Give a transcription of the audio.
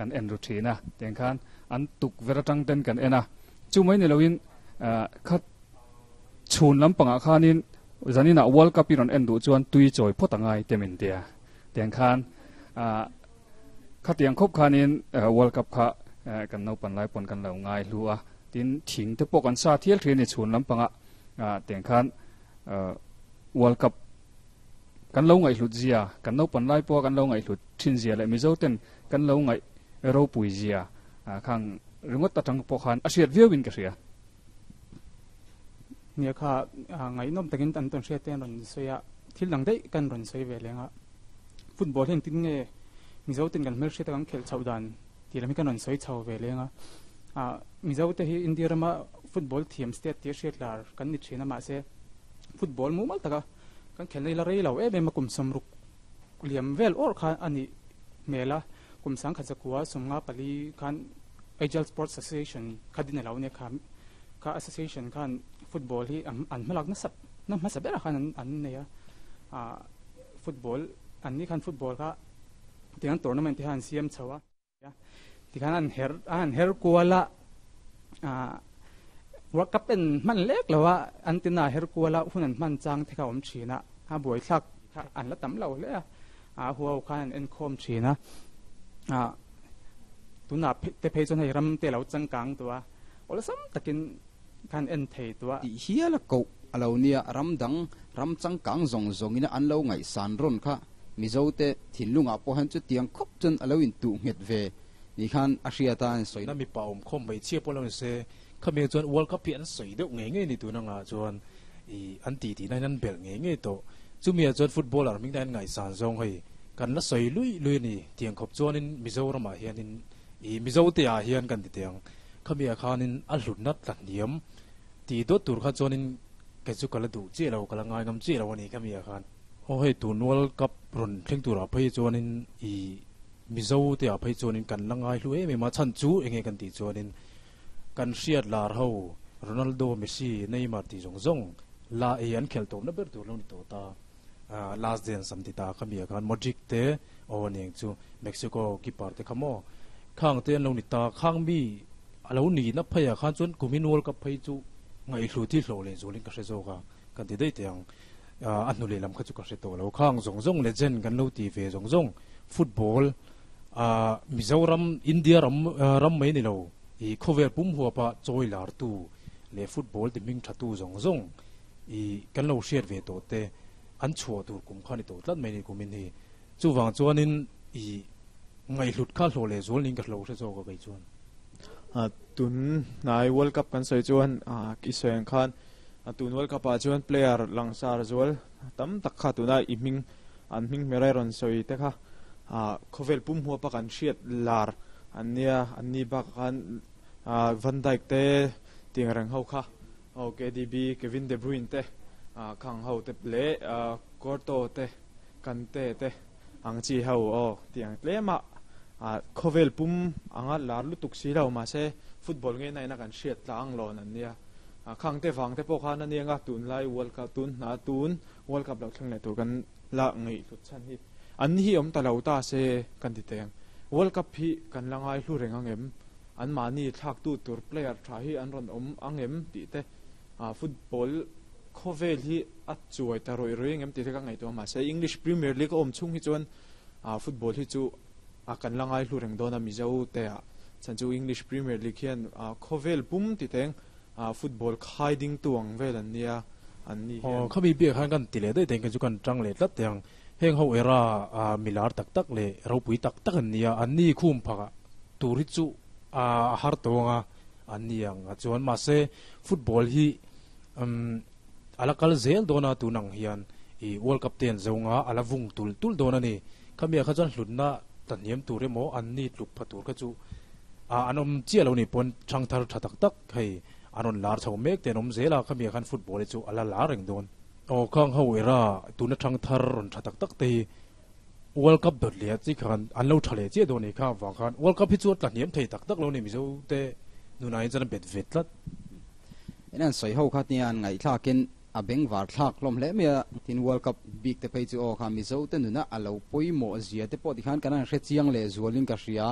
kan en ru thin a, tiang khan an tukverh atang ten kan en a, chu mai ni loin kha chhun lampangah khanin zaninah World Cup i rawn en duh chuan tui chawi phawt a ngai te min tia, tiang khan khatiang khawp khanin World Cup kha kan naupan lai pawn kan lo ngai hlu a, tin thing te pawh kan sa thial thin a ni chhun lampangah tiang khan World Cup Kan lo ngaihhlut zia, kan naupan lai pawha kan lo ngaihhlut thin zia leh Mizo ten kan lo ngaih ropui zia khang ringawt atang pawh khan a hriat viau in ka hria. Nia kha ngaihnawm takin an tawn hriat te an rawn sawi a, thil dang daih kan rawn sawi ve leng a. Football hi engtin nge Mizo ten kan hmelhriat a kan khelh chhoh dan tih lam hi kan rawn sawi chho ve leng a. Mizo te hi India rama football thiam state tia hriat lar kan ni thin a mahse football mumal taka Kan khelna ila rei lo em em a, kum sawmruk liam vel awrh khan a nih hmel a, kum sangkhat zakua sawmnga pali khan Agile Sports Association kha din a lo nia kha, kha association khan football hi an hmalak nasa na hmasa berah khan an nei a, ah football an ni khan football kha tiang tournament te khan an siam chho a. Tikhan an her a han her kual a, ah World Cup en hman lek lo a, an tina her kual a hun an hman chang te kha a awm thin a, a buaithlak kha an la tam lo hle a, ah huau khan an enkhawm thin a, ah tunah te phei chuan hei ram te a lo changkang tawh a, awlsam takin khan en thei tawh a. Tih hial a koh a lo nia, ram dang ram changkang zawng zawngin an lo ngaihsan rawn kha Mizote thinlungah pawh hian chutiang khawp chuan a lo intuh nghet ve ni khan a hriat a, an sawi. Na mipa awm khawm hmeichhia pawh lo ni se, khami chuan World Cup hi an sawi deuh ngei ngei ni tun angah chuan ih an ti tihna hian an belh ngei ngei tawh. Chumi ah chuan footballer hming te an ngaihsan zawng hei kan la sawi lui lui a ni. Tiang khawp chuanin Mizoramah hianin ih Mizote ah hian kan ti teh ang. Khami ah khanin a hlutna tla hniam tih dawt tur kha chuanin kei chu ka la duh chiah lo, ka la ngai ngam chiah lo a ni khami ah khan. Aw hei tun World Cup rawn thleng turah phei chuanin i Mizo te ah phei chuanin kan la ngai hlu em em a, chhan chu eng nge kan tih chuanin kan hriat lar ho Ronaldo, Messi, Neymar tih zawng zawng la ei an khelh tawpna ber tur lo ni tawh ta. Last dance an ti ta khami ah khan Modric te aw aniang chu Mexico keeper te kha maw khang te an lo ni ta, khang mi a lo nihna phei ah khan chuan kumin World Cup phei chu ngaihhlu thil hlawh leh zualin ka hre zawk a kan ti daih teh ang. A hnu lehlam kha chu ka hre tawh lo. Khang zawng zawng legend kan lo ti ve zawng zawng football Mizoram India ram ram mai ni lo i khawvel pum huapa chawi lartu leh football ti hming thatu zawng zawng i kan lo hriat ve tawh te an chhuah tur kum kha ni tawh tlat mai ni kumin hi. Chuvang chuanin i ngaihhlut kha hlawh leh zual niin ka hlo hre zawk a kei chuan. Tun hnai World Cup kan sawi chuan i sawi ang khan tun World Cup ah chuan player langsar zual tam tak kha tuna i hming an hming hmer a rawn sawi te kha khawvel pum huapa kan hriat lar an nia an ni bakah khan Van Dijk te tiang reng ho kha aw KDB Kevin De Bruyne te khang ho te leh Courto te Kante te ang chi ho aw tiang tlem a khawvel pum anga lar lutuk si lo mahse football nge na ina kan hriat tlang lawn an nia khang te vang te pawh khan a nia nga tunlai world cup tun hna tun world cup lo thleng leh tur kan la ngaih hlut chhan hi an hi awm ta lo ta se kan ti teng world cup hi kan la ngai hlu reng angem an mahni thlak tu tur player tha hi an rawn awm angem tih te football Khawvel hi a chuai ta rawih rawih engem tih te ka ngaihtuah a, mahse English Premier League a awm chhung hi chuan football hi chu a kan la ngai hlu reng dawn a Mizo te ah chhan chu English Premier League hian khawvel pum ti teng football khai ding tu ang vel an nia an ni hian. Aw khami biak khan kan ti leh daih teng chu kan tang leh tlat teh ang, heng ho era milar tak tak leh ropui tak tak an nia, an ni khum phakah tur hi chu a har tawng a an ni ang a chuan mahse football hi Umm a la kal zel dawn a tun ang hian i World Cup te an zo nga a la vung tul tul dawn a ni. Khami ah kha chuan hlutna ta hniam tur emaw an ni tluk pha tur kha chu ah an awm chiah lo ni pawn thang thar tha tak tak hei an rawn lar chho mek te an awm zel a khami ah khan football hi chu a la lar reng dawn. Aw khang ho era tuna thang thar rawn tha tak tak te hi World Cup dawt leh chi khan an lo tha leh chiah dawn a ni kha avang khan World Cup hi chu a tla hniam thei tak tak lo a ni Mizo te nunah hian chuan a bet ve tlat. In an sawi ho kha tia an ngaihthlakin a bengvar thlak hlawm hle mai a, tin World Cup bik te phei chu aw kha Mizo te nuna a lo pawimawh zia te pawh tikhan kan han hre chiang leh zualin ka hria.